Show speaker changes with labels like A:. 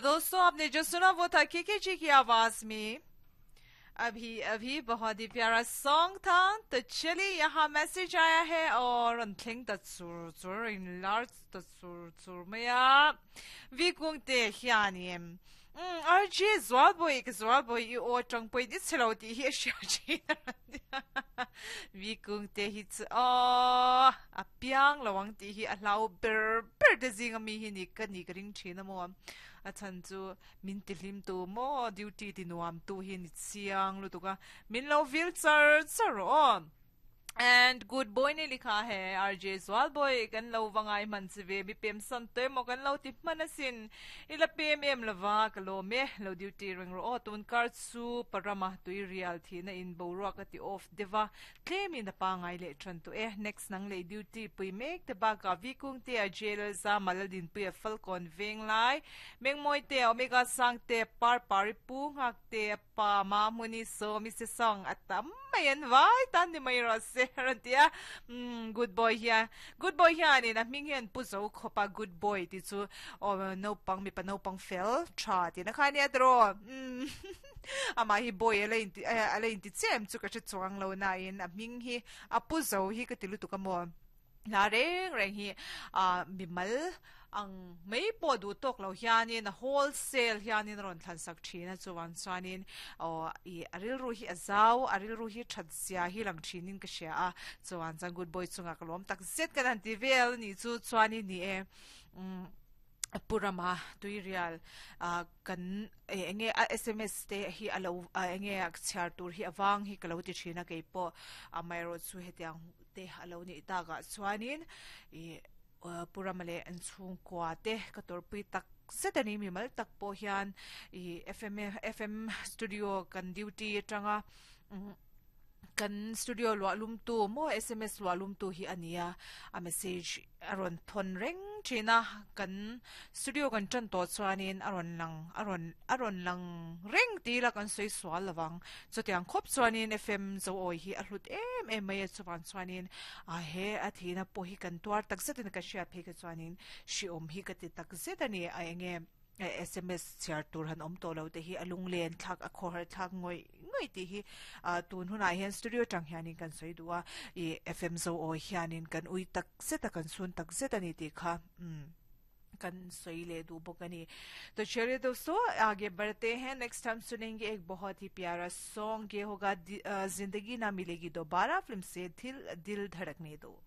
A: दोस्तों आपने जो सुना वो था केके जी की आवाज में अभी अभी बहुत ही प्यारा सॉन्ग था तो चलिए यहाँ मैसेज आया है और अंथिंग तत्सुर चुर इन लार्ज तत्सुर चुर मया vikungte hianin RJ zualboi ka zualboi i aw tang poi ni chelo ti hi a hria thin vikungte hi chu aw a piang lo ang tih hi a hlau ber ber te zing ami hi ni ka ni ka ring thin a maw a chhan chu min ti hlim tu maw duty ti nuam tu hi ni chiang lutuk a min lo vil char char rawh aw. And good boy ne likha hai RJ zual boy kan lo va ngai hman che ve mi pem san te maw kan lo ti hman asin i la pem em lova ka lawm e lo duty reng rawh aw tun kar chu parama tui rial thihna in boruak a ti off deuh a tlem in a pangai leh than tawh e next nang leh duty pui mek te bakah Vikung te a JLL Zama Laldinpuia Falkawn Venglai Mengmawi te a Omega Sangte Parpari Pu Nghak te a Pa Mahmuni Sawmi se song a tam mai an vai tan ni mai rawh se a rawn ti a. Umm good boy hian good boy hianin a hming hian pu zo khawp a good boy tih chu aw naupang mipa naupang fel tha tihna kha ania tiraw. Umm amah hi boy a la inti a la inti chiah em chu ka hre chuang lo nain a hming hi a pu zo hi ka ti lutuk a maw. Hla reng reng hi ah mimal ang mai pawh duh tawk lo hianin a wholesale hianin a rawn thlan sak thin a chuvang chuanin aw ih a rilru hi a zau a rilru hi that zia hi lang thinin ka hria a chuvang chuan good boy chungah ka lawm tak zet kan han ti vel a nih chu chuanin ni e umm Pu Rama Tuirial ah kan eh eng nge a sms te hi a lo ah eng nge a chhiar tur hi a vang hi ka lo ti thin a keipawh amaherawhchu hetiang te a lo nih takah chuanin ih Pu Rama leh an chhungkua te ka tawrhpui tak zet a ni mimal tak pawh hian ih fm fm studio kan duty atanga umm Kan studio luah lumtu maw sms luah lumtu hi a ni a, a message a rawn thawn reng thin a, kan studio kan tan tawh chuanin a rawn lang a rawn a rawn lang reng ti ila kan sawi sual lo vang. Chutiang khawp chuanin FM Zoawi hi a hlut em em mai a, chuvang chuanin a he a thihna pawh hi kan tuar takzet in ka hriat phei kha chuanin hriawm hi ka ti takzet a ni a eng nge. Sms chhiar tur han awm tawh lo te hi a lunglen thlak a khawhar thlak ngawih ngawih tih hi tun hunah hian studio atang hianin kan sawi duh a, ih FM zo awi hianin kan ui tak zet a kan chhun tak zet a ni tih kha umm kan sawi leh duh bawk a ni. To chaliye dosto aage badhte hain next hum sunenge ek bahut hi pyara song ye hoga zindagi na milegi dobara film se dil dhadakne do.